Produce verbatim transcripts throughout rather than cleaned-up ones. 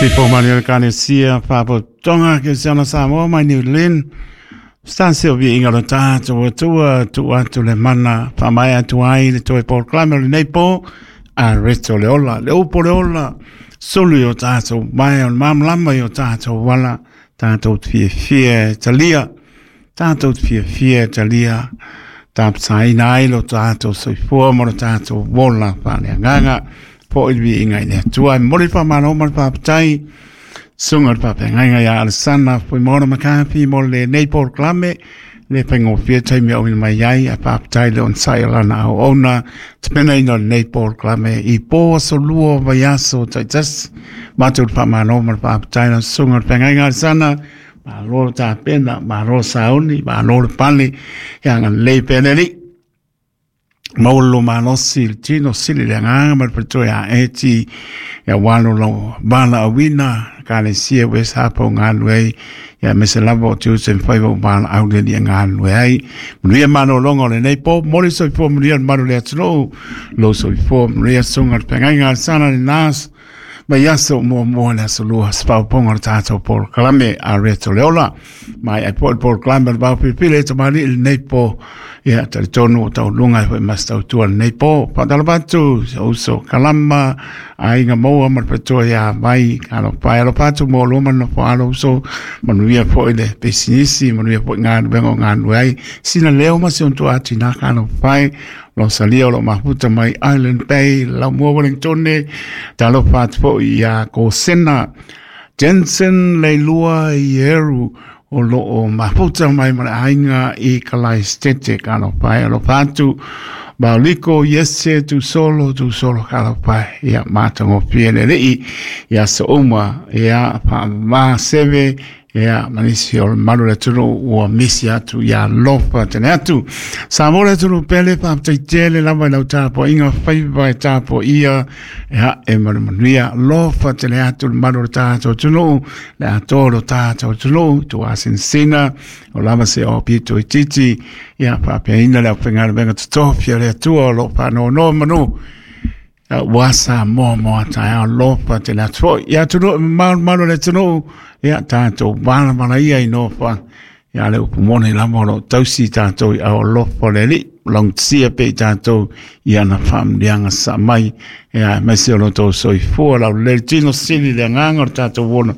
Sipo Manuel Kanesia, Papo Tonga, ke se ona Samoa mai New Zealand. Stan Sylvia inga lo tātou atua, tu atu le mana, whamai atu ai le toe polokalame o lenei po, a reto le ola, le upo le ola, sulu i o tātou mai o le mamlama i o tātou wala, tātou te fiafia e talia, tātou te fiafia e talia, tāpsaina ai lo tātou soifua mo lo tātou wola whaneanganga, po i vi inga i le atua, mori whamano ma le whapatai, sunga le whapenganga ia Alessandra, pui mora makapi, mo le nei polokalame, le whaingofia taimi o mai ai, a whapatai le onsai alana au ona, te pena ina le nei polokalame, i pō aso lua vai aso taitas, mātou le whamano ma le whapatai, na sunga le whapenganga Alessandra, ma lo tā pena, ma lo sauni, ma lo le pale, ia nga lei pene Maolo malosi le tino sili le anganga ma le patoe a eti ia walo lo bala awina ka le sia West Harbour o ngā ai ia me se lava o te usen whaiwa o bala au le lia ngā ai manuia manolonga o lenei po mori soifua manuia le malu le atunuu lo soifua manuia sunga le pengaiga le sana le nas mai aso mua mua le aso lua spauponga o le tātou polokalame a reto le ola mai ai po le polokalame le vao pilipili e tamani i lenei po ia talitonu o taulunga e foi masitautua lenei po faatalapatu uso kalama aiga maua ma le patoa ia vai alofa e alofa atu mo lua ma le nofo alo uso manuia foi le pisinisi manuia foi galuega o galue ai sina leo ma si ontua atinā ka alofa e lo salia o lo mafuta mai Island Bay Laumua Wellingtone talofa atu foi ia Kosena Jensen Leilua Ieru o lo o mafuta mai ma le aiga i kalai stete ka alofa e alofa atu Bauliko yese tu solo tu solo ka alofa ia matagofie le alii ia so uma ia faamamā seve ia manisi o le malu le atunuu ua misi atu ia alofa tele atu Samoa le atunuu pele faafetaitele lava i lau tapuaiga faiva e tapuaia ia e manumanuia alofa tele atu le malu o le tatou atunuu le atoa lo tatou atunuu tuasinasina o lava se o pito i titi ia faapeaina le aufaigaluega totofi a le Atua o loo faanoanoa manu ua Samoa mo a taeao alofa tele atu foi ia atunuu e mamao le malu o le atunuu ia tatou valavala ia i nofoaga ia le upu moni lava o loo tausi tatou i ao alofa o le Alii logotisia pea i tatou i ana faamanuiaga sasaa mai ia aemaise o lo outou soifua laulelei le tino sili le agaga o le tatou ola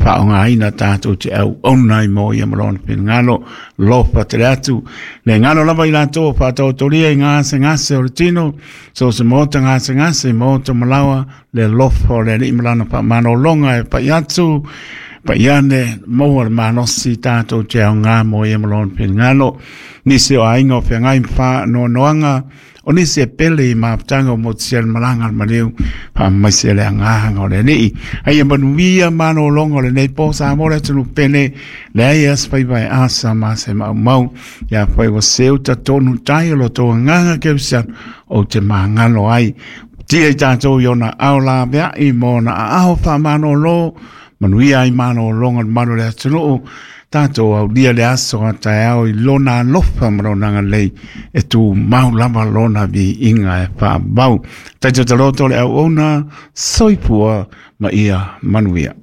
faaaogaina tatou te auauna ai mo ia ma lona finagalo alofa tele atu le galo lava i latou o faataotolia i gasegase o le tino so se maota gasegase maota malaoa le alofa o le Alii ma lana faamalologa e pai atu pai ane maua le malosi tatou te aoga mo ia ma lona finagalo nisi o aiga o feagai ma faanoanoaga o nisi e pele i mafutaga o motusia le malaga a le maliu faamaise le agaga o le Alii ai e manuia malologa o lenei po Samoa le atunuu pele leai e asofaiva e asa ma se maumau ia fai ua seu tatonu tai o lo tou agaga kerisiano ou te magalo ai tia i tatou i ona ao laveai ma ona aao faamalōlō manuia ai malologa le malu o le atunuu tatou aulia le aso a taeao i lona alofa ma lona agalelei e tumau lava lona viiga e faavau. Taitoataloto le auauna soifua ma ia manuia.